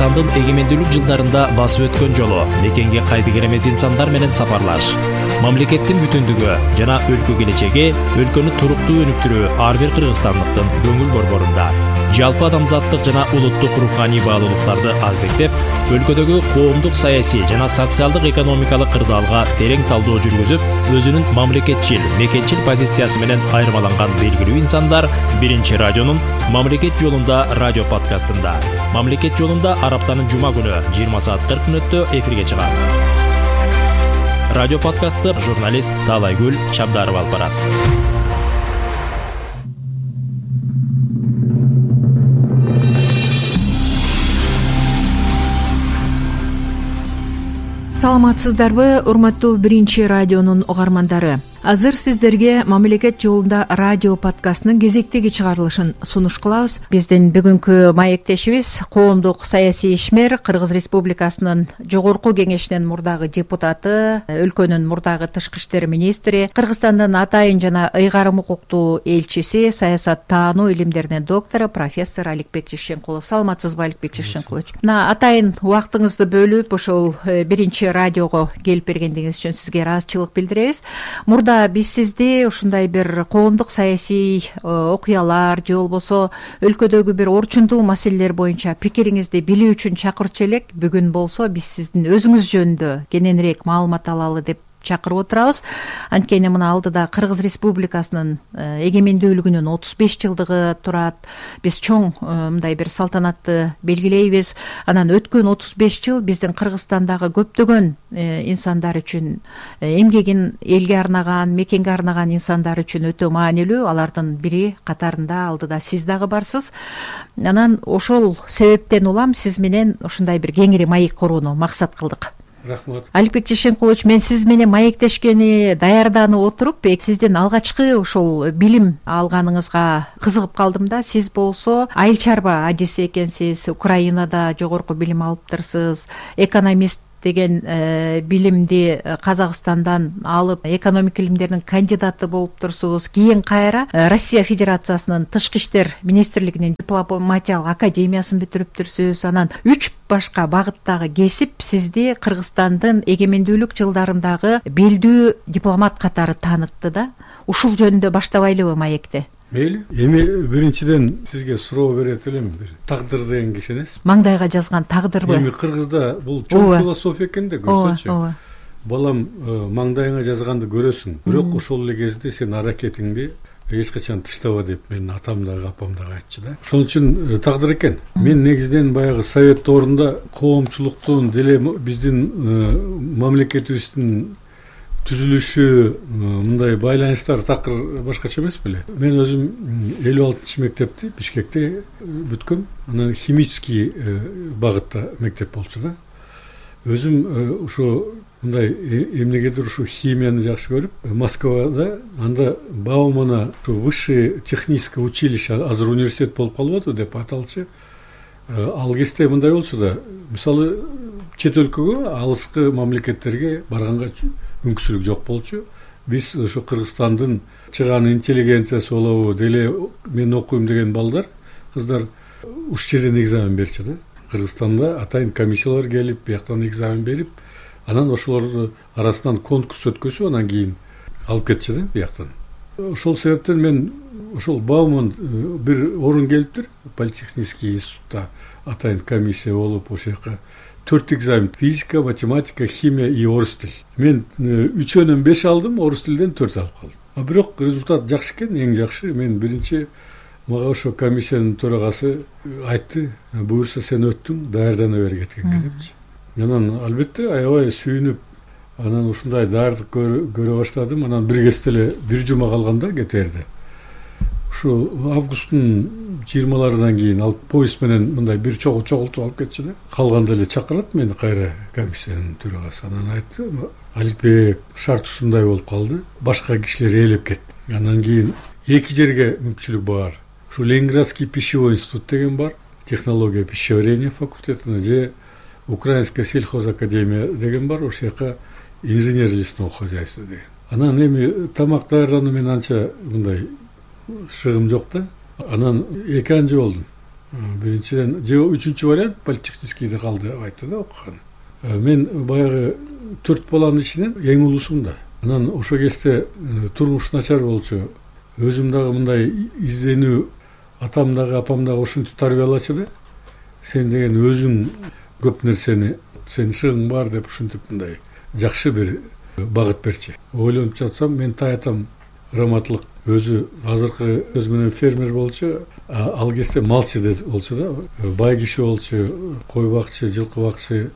Кыргызстандын эгемендүүлүк жылдарында басып өткөн жолу, мекенге кайдыгер эмес инсандар менен сапарлаш, мамлекеттин бүтүндүгү жана өлкө келечеги, өлкөнү туруктуу өнүктүрүү ар бир кыргызстандыктын көңүл борборунда. Жалпы адамзаттык жана улуттук руханий баалуулуктарды аздектеп, өлкөдөгү коомдук, саясий жана социалдык экономикалык кырдаалга терең талдоо жүргүзүп, өзүнүн мамлекетчил, мекенчил позициясы менен айырмаланган белгилүү инсандар Биринчи радионун Мамлекет жолунда радио подкастында. Мамлекет жолунда ар аптанын жума күнү 20:40 эфирге чыгат. Радио подкастты журналист Таалайгүл Чабдарова алып барат. Саламатсыздарбы, урматтуу Биринчи радионун угармандары. Азыр сиздерге Мамлекет жолунда радио подкастынын кезектеги чыгарылышын сунуш кылабыз. Биздин бүгүнкү маектешибиз коомдук саясий ишмер, Кыргыз Республикасынын Жогорку Кеңешинин мурдагы депутаты, өлкөнүн мурдагы тышкы иштер министри, Кыргызстандын атайын жана ыйгарым укуктуу элчиси, саясаттануу илимдеринин доктору профессор Аликбек Жекшенкулов. Саламатсызбы, Аликбек Жекшенкулович? Атайын убактыңызды бөлүп, ошол Биринчи радиого келип бергендигиңиз үчүн сизге ыраазычылык билдиребиз. Мурда биз сизди ушундай бир коомдук саясий окуялар же болбосо өлкөдөгү бир орчундуу маселелер боюнча пикириңизди билүү үчүн чакырчу элек. Бүгүн болсо биз сиздин өзүңүз жөнүндө кененирээк маалымат алалы деп чакырып отурабыз. Анткени мына алдыда Кыргыз Республикасынын эгемендүүлүгүнүн 35 жылдыгы турат. Биз чоң мындай бир салтанатты белгилейбиз. Анан өткөн 35 жыл биздин Кыргызстандагы көптөгөн инсандар үчүн, эмгегин элге арнаган, мекенге арнаган инсандар үчүн өтө маанилүү. Алардын бири катарында алдыда сиз дагы барсыз. Анан ошол себептен улам сиз менен ушундай бир кеңири маек курууну максат кылдык. Рахмат. Аликбек Жекшенкулович, мен сиз менен маектешкени даярданып отуруп, сиздин алгачкы ошол билим алганыңызга кызыгып калдым да. Сиз болсо айыл чарба адиси экенсиз, Украинада жогорку билим алыптырсыз, экономист деген билимди Казакстандан алып, экономика илимдеринин кандидаты болуп турсуз. Кийин кайра Россия Федерациясынын тышкы иштер министрлигинин дипломатиялык академиясын бүтүрүптүрсүз. Анан 3 башка багыттагы кесип сизди Кыргызстандын эгемендүүлүк жылдарындагы белдүү дипломат катары таанытты да. Ушул жөнүндө баштабайлыбы маекти? Мейли. Эми биринчиден сизге суроо берет элем. Тагдыр деген киши эмес. Маңдайга жазган тагдырбы? Эми Кыргызда бул чоң философия экен да, көрсөчү. Балам, маңдайыңа жазганды көрөсүң, бирок ошол эле кезде сен аракетиңди эч качан таштаба деп менин атам дагы апам дагы айтчу да. Ошон үчүн тагдыр экен. Мен негизинен баягы совет доорунда коомчулуктун деле биздин мамлекетибиздин түзүлүшү, мындай байланыштар такыр башкача эмес беле. Мен өзүм 56-мектепти Бишкекте бүткөм. Анан химический багытта мектеп болчу да. Өзүм ушу мындай эмнегедир ушу химияны жакшы көрүп, Москвада анда Баумана высшее техническое училище, азыр университет болуп калбады деп аталчу. Ал кезде мындай болчу да, мисалы чет өлкөгө, алыскы мамлекеттерге барганга мүмкүнчүлүк жок болчу. Биз ошо Кыргызстандын чыган интеллигенциясы болобу, деле мен окуйм деген балдар, кыздар уш жерден экзамен берчү да. Кыргызстанда атайын комиссиялар келип, бияктан экзамен берип, анан ошолордун арасынан конкурс өткөзүп, анан кийин алып кетчү да бияктан. Ошол себептен мен ошол Бауман бир орун келиптир, политехнический институтта атайын комиссия болуп, ошол жака 4 экзамен: физика, математика, химия и орус тил. Мен 3-өнөн 5 алдым, орус тилден 4 алып калдым. Бирок результат жакшы экен, эң жакшы. Мен биринчи мага ошо комиссиянын төрагасы айтты: буюрса сен өттүң, даярдана бергиле депчи. Анан албетте аябай сүйүнүп, анан ушундай даярдык көрө баштадым. Анан бир кезде эле бир жума калганда КТРде. Ушу августтун 20-ларынан кийин алып поезд менен мындай бир чогултуп алып кетчү да. Калганда эле чакырат мени кайра комиссиянын төрагасы. Анан айтты: Аликбек, шарт ушундай болуп калды. Башка кишилер ээлеп кетти. Андан кийин 2 жерге мүмкүнчүлүк бар. Ушу Ленинградский пищевой институт деген бар, технология пищеварения факультетине, же Украинская сельхозакадемия деген бар, ошол жака инженер лесного хозяйства деген. Анан эми тамак даярдануу менен анча мындай шыгым жок да. Анан 2 анча болдум. биринчиден же үчүнчү вариант политехническийде калды деп айтты да окуган. Мен баягы 4 баланын ичинен эң улуусумун да. Анан ошол кезде турмуш начар болчу. Өзүм дагы мындай изденүү, атам дагы апам дагы ушинтип тарбиялачу да. Сен деген өзүң көп нерсени, сенин шыгың бар деп ушинтип мындай жакшы бир багыт берчи. Ойлонуп жатсам, мен таятам раматлык өзү азыркы сөз менен фермер болчу, ал кезде малчы болчу да, бай киши болчу, кой бакчы, жылкы бакчы,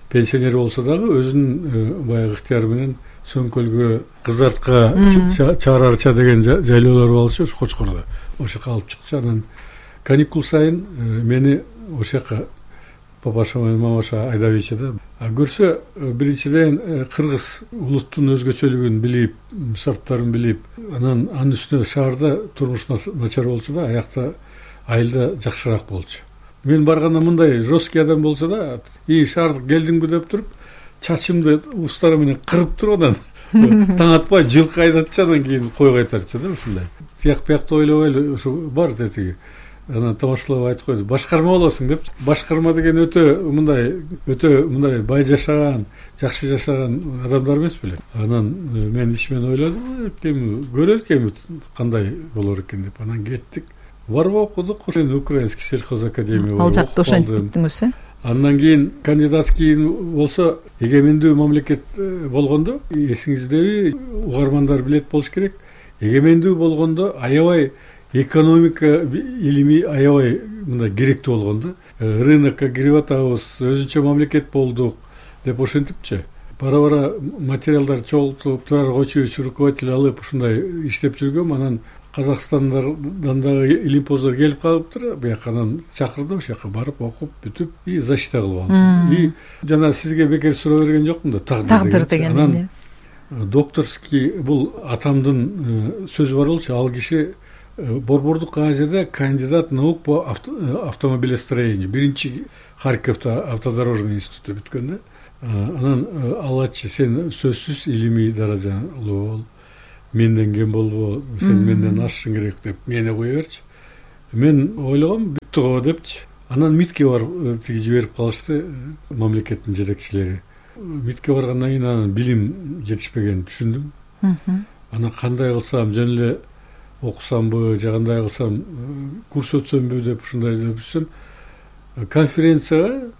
пенсионер болсо дагы өзүнүн баягы ыктыяры менен Сөңкөлгө, Кызартка, Чарарча деген жайлоолор болчу, Кочкордо. Ошол жака алып чыкчу. Анан каникул сайын мени ошол жака папаша менен мамаша айдап ийчи да. Көрсө, биринчиден кыргыз улуттун өзгөчөлүгүн билип, шарттарын билип, анан анын үстүнө шаарда турмуш начар болчу да, аякта айылда жакшыраак болчу. Мен барганда мындай жесткий адам болсо да, шаардык келдиңби деп туруп, чачымды устары менен кырып туруп, анан таң атпай жылкы айдатчы, анан кийин кой кайтарчы да ушундай. Тияк биякты ойлобой эле ушу бар дедиги. Анан тамашалап айтып койду. Башкарма болосуң деп. Башкарма деген өтө мындай бай жашаган, жакшы жашаган адамдар эмес беле. Анан мен ичимен ойлодум, көрөлүк кандай болор экен деп. Анан кеттик. Барып окудук. Украинский сельхозакадемия. Ал жакта ошентип бүттүңүз, Андан кийин кандидатский болсо, эгемендүү мамлекет болгондо, эсиңиздеби, угармандар билет болуш керек. Эгемендүү болгондо аябай экономика илими аябай мындай керектүү болгондо, рынокко кирип атабыз, өзүнчө мамлекет болдук деп ошентипчи. Бара-бара материалдар чогултуп, турар койчубич руководитель алып ушундай иштеп жүргөм. Анан Казакстандан дагы илимпоздор келип калыптыр. Бияка анан чакырды, ошол жака барып окуп бүтүп, защита кылып алдым. Жана сизге бекер суроо берген жокмун да, тагдыр деген. Анан докторский бул атамдын сөзү бар болчу. Ал киши Борбордук Азияда кандидат наук по автомобилестроению. Биринчи Харьковто автодорожный институту бүткөн да. Анан алачы, сен сөзсүз илимий даражалуу бол. Менден кем болбо, сен менден ашышың керек деп мени кое берчи. Мен ойлогом, бүттү го депчи. Анан МИДке барып жиберип калышты мамлекеттин жетекчилери. МИДке баргандан кийин анан билим жетишпегенин түшүндүм. Анан кандай кылсам, жөн эле окусамбы, же кандай кылсам, курс өтсөмбү деп ушундай деп жүрсөм, конференцияга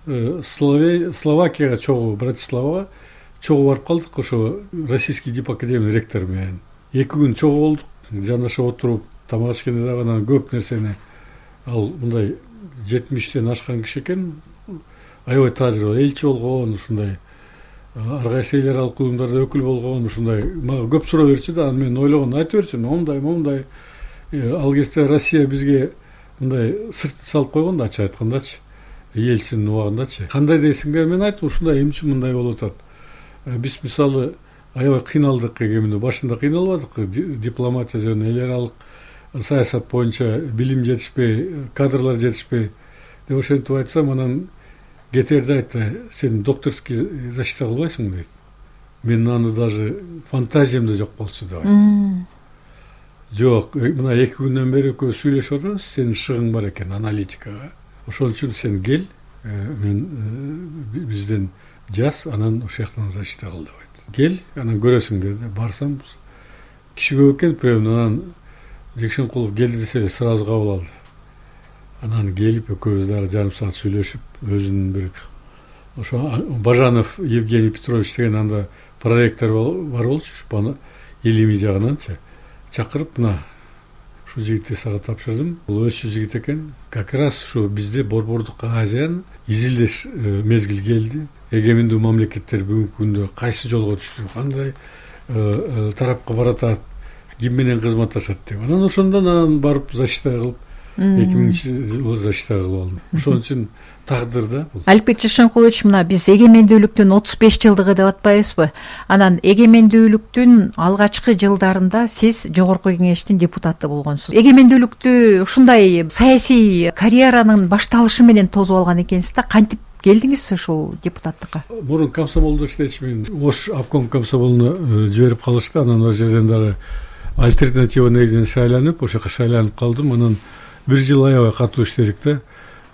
Словакияга чогуу, Братиславага чогуу барып калдык, ошо Российский дипакадемиянын ректору менен. 2 күн чогуу болдук, жанашып отуруп, тамак ичкенде дагы анан көп нерсени, ал мындай 70тен ашкан киши экен, аябай тажрыйба, элчи болгон, ушундай ар кайсы эл аралык уюмдарда өкүл болгон, ушундай мага көп суроо берчү да. Анан мен ойлогон, айтып берчи, момундай. Ал кезде Россия бизге мындай сырт салып койгон да, ачык айткандачы, элчинин убагындачы. Кандай дейсиңер? Мен айттым, ушундай эмчи мындай болуп атат. Биз мисалы аябай кыйналдык, эгеминде башында кыйналбадык, дипломатия жөнүндө, эл аралык саясат боюнча билим жетишпей, кадрлар жетишпей деп ошентип айтсам, анан кетерде айтты, сен докторский защита кылбайсың дейт. Мен аны даже фантазиямда жок болчу деп айтты. Жок, мына 2 күндөн бери экөөбүз сүйлөшүп атабыз, сенин шыгың бар экен аналитикага. Ошол үчүн сен кел, мен бизден жаз, анан ошол жактан защита кыл деп айтты. Кел, анан көрөсүң деди. Барсам, киши көп экен, анан Жекшенкулов келди десе сразу кабыл алды. Анан келип экөөбүз дагы жарым саат сүйлөшүп, өзүнүн бир ошо Бажанов Евгений Петрович деген анда проректор бар болчу, илимий жагынанчы. Чакырып, мына ушу жигитти сага тапшырдым. Бул өсчү жигит экен. Как раз ушу бизде Борбордук Азиянын изилдеш мезгил келди. Эгемендүү мамлекеттер бүгүнкү күндө кайсы жолго түштү, кандай тарапка баратат, ким менен кызматташат деп. Анан ошондон барып защита кылып, 2000-жылы защита кылып алдым. Ошон үчүн тагдыр да бул. Аликбек Жекшенкулович, мына биз эгемендүүлүктүн 35 жылдыгы деп атпайбызбы? Анан эгемендүүлүктүн алгачкы жылдарында сиз Жогорку Кеңештин депутаты болгонсуз. Эгемендүүлүктү ушундай саясий карьеранын башталышы менен тосуп алган экенсиз да, кантип келдиңиз ушул депутаттыкка? Мурун комсомолдо иштечүмүн. Ош обком комсомолуна жиберип калышты. Анан ал жерден дагы альтернатива негизинен шайланып, ошо жака шайланып калдым. Анан 1 жыл аябай катуу иштедик да.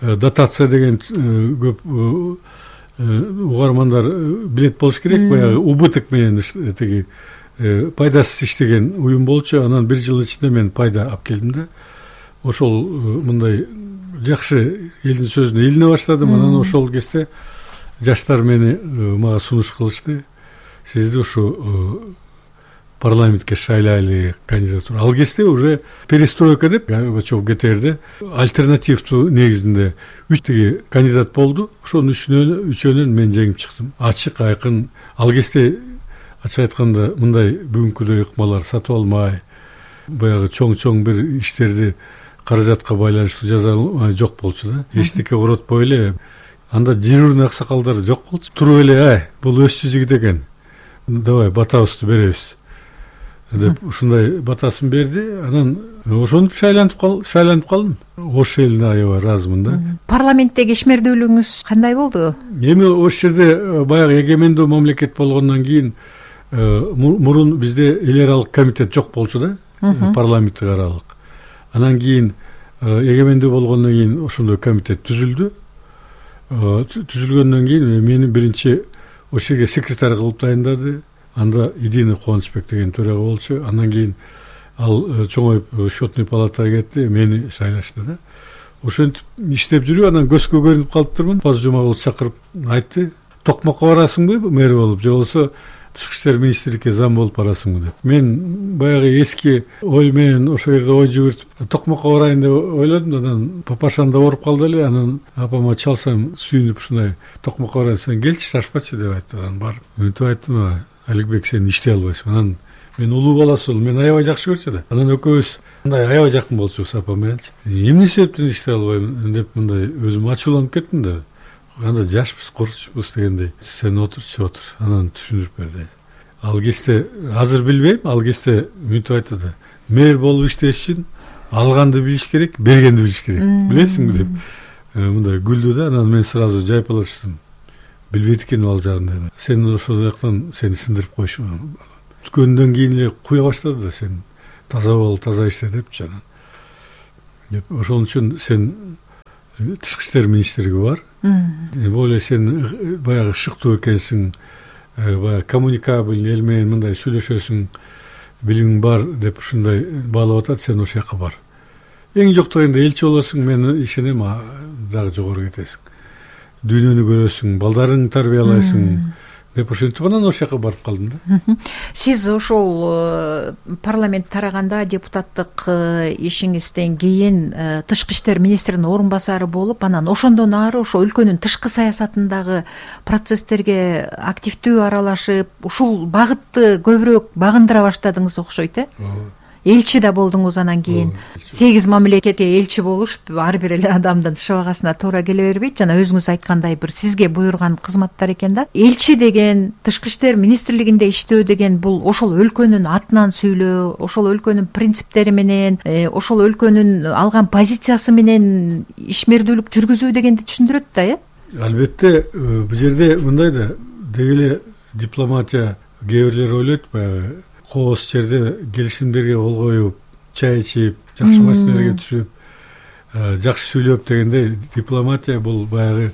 дотация деген көп угармандар билет болуш керек. Баягы убыток менен тиги пайдасыз иштеген уюм болчу. Анан 1 жыл ичинде мен пайда алып келдим да. Ошол мындай жакшы элдин сөзүнө илине баштадым. Анан ошол кезде жаштар мага сунуш кылышты. Сизди ушу парламентке шайлайлы кандидатура. Ал кезде уже перестройка деп Горбачев ГТРде альтернативдүү негизинде 3 кандидат болду. Ошонун үчөөнөн мен жеңип чыктым. Ачык, айкын. Ал кезде ачык айтканда мындай бүгүнкүдөй ыкмалар сатып алмай, баягы чоң бир иштерди каражатка байланыштуу жаза алмай жок болчу да. Эчтеке коротпой эле. Анда дежурный аксакалдар жок болчу. Туруп эле, бул өз жигит экен. Давай батабызды беребиз деп ушундай батасын берди. Анан ошентип шайланып калдым. Ош элине аябай ыраазымын да. Парламенттеги ишмердүүлүгүңүз кандай болду? Эми ош жерде баягы эгемендүү мамлекет болгондон кийин мурун бизде эл аралык комитет жок болчу да, парламенттик аралык. Анан кийин эгемендүү болгондон кийин ошондой комитет түзүлдү. Түзүлгөндөн кийин мени биринчи ош жерге секретарь кылып дайындады. Анда Идина Кубанычбек деген төрага болчу. Андан кийин ал чоңоюп счетный палатага кетти, мени шайлашты да. Ошентип иштеп жүрүп, анан көзгө көрүнүп калыптырмын. Паз Жумагулов чакырып айтты: "Токмокко барасыңбы мэр болуп, же болбосо Тышкы иштер министрликке зам болуп барасыңбы" деп. Мен баягы эски ой менен ошол жерде ой жүгүртүп Токмокко барайын деп ойлодум. Анан папашам да ооруп калды эле. Анан апама чалсам сүйүнүп ушундай: "Токмокко барайын, сен келчи, шашпачы" деп айтты. Анан барып мынтип айттым: "Аликбек, сен иштей албайсың." Анан мен улуу баласы болдум, мен аябай жакшы көрчү да. Анан экөөбүз мындай аябай жакын болчубуз апам мененчи. Эмне себептен иштей албайм деп мындай өзүм ачууланып кеттим да. Анда жашпыз, курчпуз дегендей. "Сен отур." Анан түшүндүрүп берди. Ал кезде азыр билбейм, ал кезде мынтип айтты да: "Мэр болуп иштеш үчүн алганды билиш керек, бергенди билиш керек. Билесиңби" деп мындай күлдү да. Анан мен сразу жайпала түштүм. Билбейт экенмин ал жагын. "Сен ошол жактан сени сындырып койшу. Түткөндөн кийин эле куя баштады да, сен таза бол, таза иште" депчи. Анан деп ошон үчүн сен Тышкы иштер министрлиги бар. Более сен баягы шыктуу экенсиң, баягы коммуникабельный эл менен мындай сүйлөшөсүң, билимиң бар деп ушундай баалап атат, сен ошол жака бар. Эң жок дегенде элчи болосуң, мен ишенем, дагы жогору кетесиң. Дүйнөнү көрөсүң, балдарыңды тарбиялайсың деп ошентип анан ошол жака барып калдым да. Сиз ошол парламент тараганда депутаттык ишиңизден кийин Тышкы иштер министринин орун басары болуп, анан ошондон ары ошо өлкөнүн тышкы саясатындагы процесстерге активдүү аралашып, ушул багытты көбүрөөк багындыра баштадыңыз окшойт, э? Элчи да болдуңуз анан кийин. 8 мамлекетке элчи болуш ар бир эле адамдын шыбагасына туура келе бербейт. Жана өзүңүз айткандай бир сизге буйруган кызматтар экен да. Элчи деген, Тышкы иштер министрлигинде иштөө деген бул ошол өлкөнүн атынан сүйлөө, ошол өлкөнүн принциптери менен, ошол өлкөнүн алган позициясы менен ишмердүүлүк жүргүзүү дегенди түшүндүрөт да, э? Албетте, бул жерде мындай да, деги эле дипломатия кээ бирлер ойлойт, баягы кооз жерде келишимдерге кол коюп, чай ичип, жакшы маселелерге түшүп, жакшы сүйлөп дегенде дипломатия бул баягы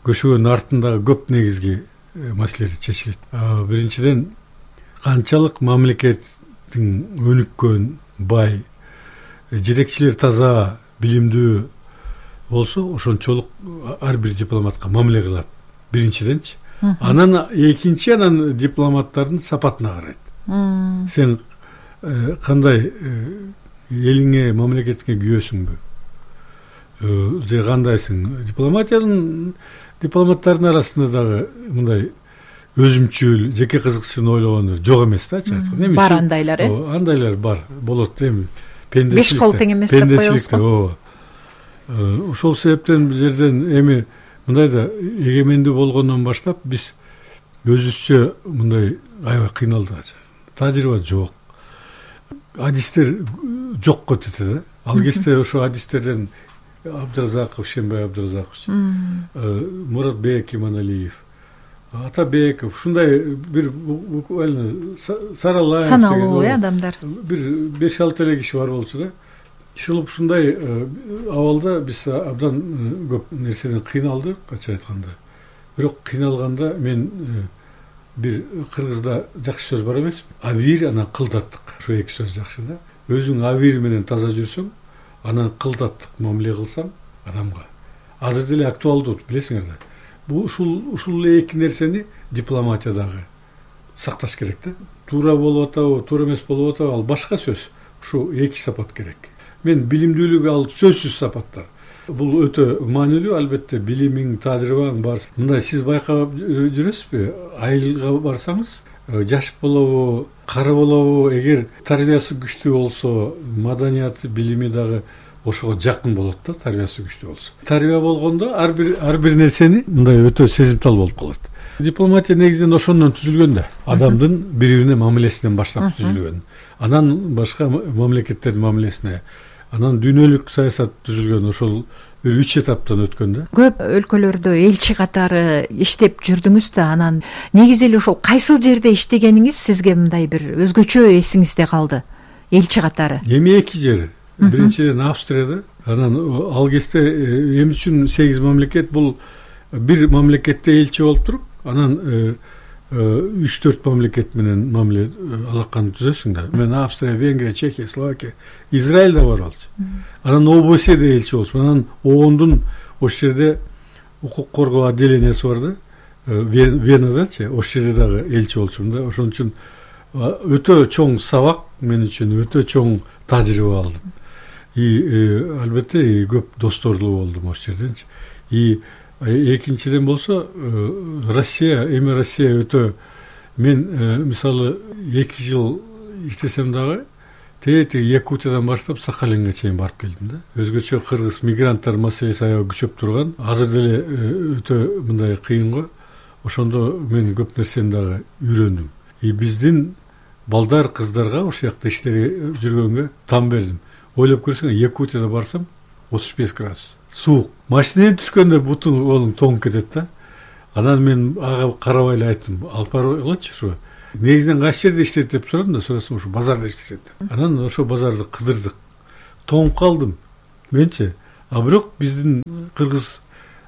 көшөгөнүн артындагы көп негизги маселелер чечилет. Биринчиден, канчалык мамлекеттин өнүккөн, бай, жетекчилер таза, билимдүү болсо, ошончолук ар бир дипломатка мамиле кылат. Биринчиденчи. Анан экинчи, анан дипломаттардын сапатына карайт. Сен кандай элиңе, мамлекетиңе күйөөсүңбү? Же кандайсың? Дипломаттардын арасында дагы мындай өзүмчүл, жеке кызыкчысын ойлогону жок эмес да, айтканда. Бар андайлар, э? Андайлар бар, болот эми. Беш кол тең эмес деп коебузго. Ошол себептен бул жерден эми мындай да эгемендүү болгондон баштап биз өзүбүзчө мындай аябай кыйналдык. Тажрыйба жок. Адистер жокко тете да. Ал кезде ошо адистерден Абдыразаков, Шембай Абдыразакович, Муратбек Иманалиев, Атабеков, ушундай бир буквально Саралаев саналуу адамдар. Бир 5-6 эле киши бар болчу да. ушул ушундай абалда биз абдан көп нерседен кыйналдык, ачык айтканда. Бирок кыйналганда мен бир кыргызда жакшы сөз бар эмеспи? Абийир, анан кылдаттык. Ушу эки сөз жакшы да. Өзүң абийир менен таза жүрсөң, анан кылдаттык мамиле кылсаң адамга. Азыр деле актуалдуу, билесиңер да. Бул ушул эки нерсени дипломатиядагы сакташ керек да. Туура болуп атабы, туура эмес болуп атабы, ал башка сөз. Ушу эки сапат керек. Мен билимдүүлүк ал сөзсүз сапаттар. Бул өтө маанилүү, албетте билимиң, тажрыйбаң бар. Мындай сиз байкап жүрөсүзбү? Айылга барсаңыз, жаш болобу, кары болобу, эгер тарбиясы күчтүү болсо, маданияты, билими дагы ошого жакын болот да, тарбиясы күчтүү болсо. Тарбия болгондо ар бир нерсени мындай өтө сезимтал болуп калат. Дипломатия негизинен ошондон түзүлгөн да. Адамдын бири-бирине мамилесинен баштап түзүлгөн. Анан башка мамлекеттердин мамилесине, анан дүйнөлүк саясат түзүлгөн. Ошол бир 3 этаптан өткөн да. Көп өлкөлөрдө элчи катары иштеп жүрдүңүз да, анан негизи эле ошол кайсыл жерде иштегениңиз сизге мындай бир өзгөчө эсиңизде калды? Элчи катары. Эми эки жер. Биринчиден Австрияда, анан ал кезде эми үчүн 8 мамлекет, бул бир мамлекетте элчи болуп туруп, анан 3-4 мамлекет менен мамиле алаканы түзөсүң да. Мен Австрия, Венгрия, Чехия, Словакия, Израиль да бар болчу. Анан ОБСЕде элчи болчу. Анан ООНдун ошол жерде укук коргоо отделениясы бар да. Венадачы, ошол жерде дагы элчи болчумун да. Ошон үчүн өтө чоң сабак мен үчүн, өтө чоң тажрыйба алдым. Албетте көп досторлуу болдум ошол жерденчи. Экинчиден болсо Россия өтө, мен мисалы 2 жыл иштесем дагы тети Якутиядан баштап Сахалинге чейин барып келдим да. Өзгөчө кыргыз мигранттар маселеси аябай күчөп турган. Азыр деле өтө мындай кыйын го. Ошондо мен көп нерсени дагы үйрөндүм. Биздин балдар, кыздарга ошол жакта иштеп жүргөнгө там бердим. Ойлоп көрсөң, Якутияда барсам 35 градус. Суук. Машинеден түшкөндө бутуң колуң тоңуп кетет да. Анан мен ага карабай эле айттым, алып баргылачы ушу. Негизинен кайсы жерде иштейт деп сурадым да, сурасам ушу базарда иштешет. Анан ошо базарды кыдырдык. Тоңуп калдым менчи. А бирок биздин кыргыз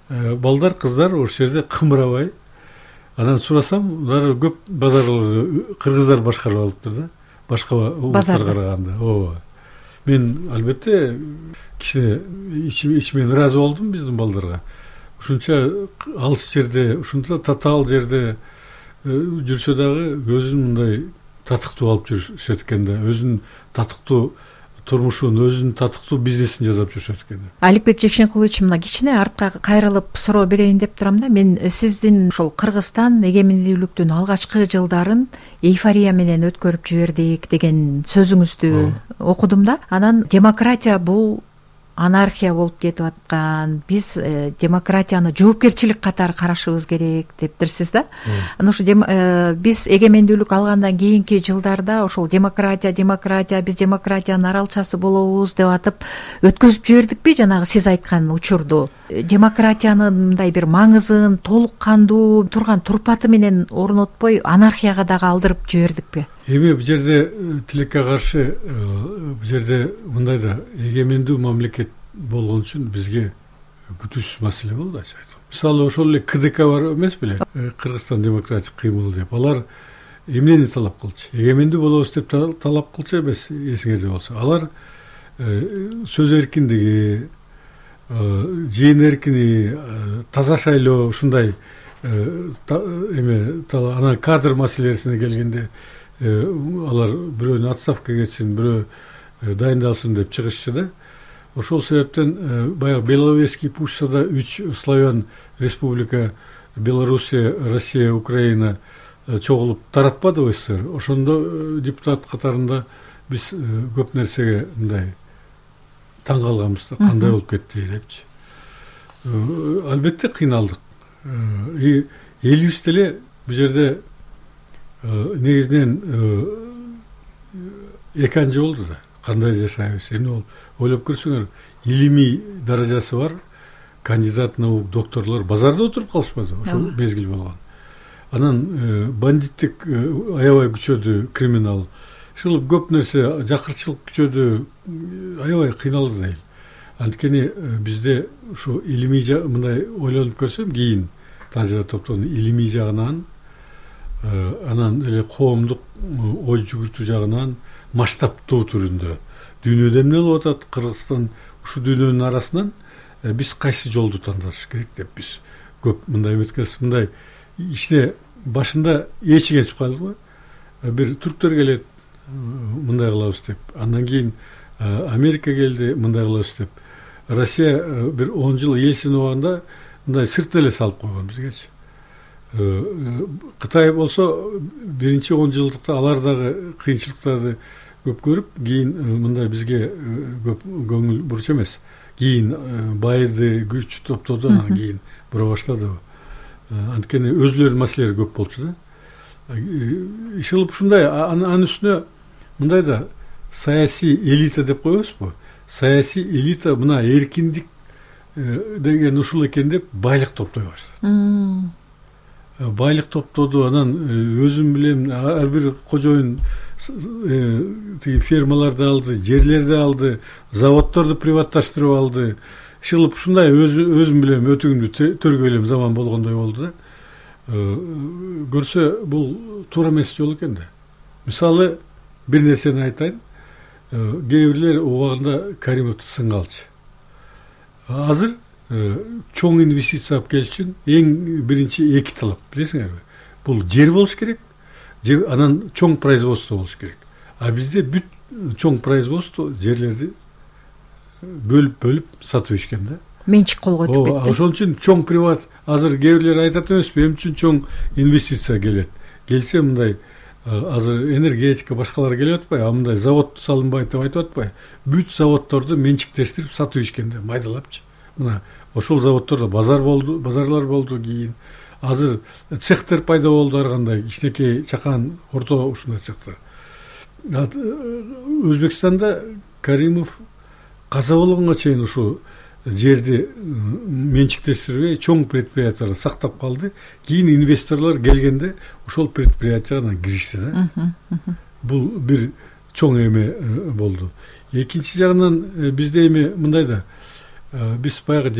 балдар, кыздар ошол жерде кымырабай. Анан сурасам, дары көп базарларды кыргыздар башкарып алыптыр да. Башка улуттарга караганда. Ооба. Мен албетте кичине ичимен ыраазы болдум биздин балдарга. Ушунча алыс жерде, ушунча татаал жерде жүрсө дагы өзүн мындай татыктуу алып жүрүшөт экен да. Өзүнүн татыктуу турмушун, өзүнүн татыктуу бизнесин жасап жүрүшөт экен. Аликбек Жекшенкулович, мына кичине артка кайрылып суроо берейин деп турам да. Мен сиздин ошол Кыргызстан эгемендүүлүктүн алгачкы жылдарын эйфория менен өткөрүп жибердик деген сөзүңүздү окудум да. Анан демократия бул анархия болуп кетип аткан, биз демократияны жоопкерчилик катары карашыбыз керек дептирсиз да. Анан ошо биз эгемендүүлүк алгандан кийинки жылдарда ошол демократия, биз демократиянын аралчасы болобуз деп атып өткөзүп жибердикпи жанагы сиз айткан учурду? Демократиянын мындай бир маңызын толук кандуу турган турпаты менен орнотпой анархияга дагы алдырып жибердикпи? Эми бул жерде тилекке каршы, бул жерде мындай да эгемендүү мамлекет болгон үчүн бизге күтүүсүз маселе болду, ачык айтканда. Мисалы ошол эле КДК бар эмес беле? Кыргызстан демократик кыймыл деп. Алар эмнени талап кылчу? Эгемендүү болобуз деп талап кылчу эмес, эсиңерде болсо. Алар сөз эркиндиги, жыйын эркини, таза шайлоо, ушундай анан кадр маселесине келгенде алар бирөөнүн отставкага кетсин, бирөө дайындалсын деп чыгышчу да. Ошол себептен баягы Беловежский путчта 3 славян республика, Белоруссия, Россия, Украина чогулуп таратпадыбы СССР. Ошондо депутат катарында биз көп нерсеге мындай таң калганбыз да, кандай болуп кетти депчи. Албетте кыйналдык. Элибиз деле бул жерде негизинен эканжы болду да. Кандай жашайбыз? Эми ойлоп көрсөңөр, илимий даражасы бар кандидат наук докторлор базарда отуруп калышпады, ошол мезгил болгон. Анан бандиттик аябай күчөдү, криминал. ушул көп нерсе жакырчылык күчөдү аябай кыйналды да эл. Анткени бизде ушу илимий мындай ойлонуп көрсөм, кийин Тажыра топтонун илимий жагынан, анан эле коомдук ой жүгүртүү жагынан масштабтуу түрүндө дүйнөдө эмне болуп атат, Кыргызстан ушу дүйнөнүн арасынан биз кайсы жолду тандаш керек деп биз көп мындай эметкенбиз. Мындай ичине башында эчи кетип калды го. Бир түрктөр келет, мындай кылабыз деп. Андан кийин Америка келди, мындай кылабыз деп. Россия бир 10 жыл Ельцин убагында мындай сырт эле салып койгон бизгечи. Кытай болсо биринчи 10 жылдыкта алар дагы кыйынчылыктарды көп көрүп, кийин мындай бизге көп көңүл буруч эмес. Кийин байды, күч топтоду, анан кийин бура баштады. Анткени өзүлөрүнүн маселелери көп болчу да. Ишыл ушундай, анын үстүнө мындай да саясий элита деп коебузбу? Саясий элита мына эркиндик деген ушул экен деп байлык топтой баштады. Байлык топтоду, анан өзүм билем ар бир кожоюн тиги фермаларды алды, жерлерди алды, заводдорду приватташтырып алды. Ишылып ушундай өзүм билем өтүгүмдү төргөйлөм заман болгондой болду да. Көрсө бул туура эмес жол экен да. Мисалы бир нерсени айтайын. Кээ бирлер убагында Каримовду сынга алчу. Азыр чоң инвестиция алып келиш үчүн эң биринчи 2 талап, билесиңерби? Бул жер болуш керек, анан чоң производство болуш керек. А бизде бүт чоң производство жерлерди бөлүп сатып ишкен да. Менчик колго өтүп кетти. Ошон үчүн чоң приват, азыр кээ бирлер айтат эмеспи, эмне үчүн чоң инвестиция келет? Келсе мындай азыр энергетика башкалар келип атпайбы, мындай завод салынбайт деп айтып атпайбы? Бүт заводдорду менчиктештирип сатып ишкенде, майдалапчы. Мына ошол заводдордо базарлар болду кийин. Азыр цехтер пайда болду ар кандай, кичинекей, чакан, орто ушундай цехтер. Өзбекстанда Каримов каза болгонго чейин ушу жерди менчиктештирбей чоң предприятияларды сактап калды. Кийин инвесторлор келгенде ошол предприятияга киришти да. Бул бир чоң эме болду. Экинчи жагынан бизде эми мындай да, биз баягы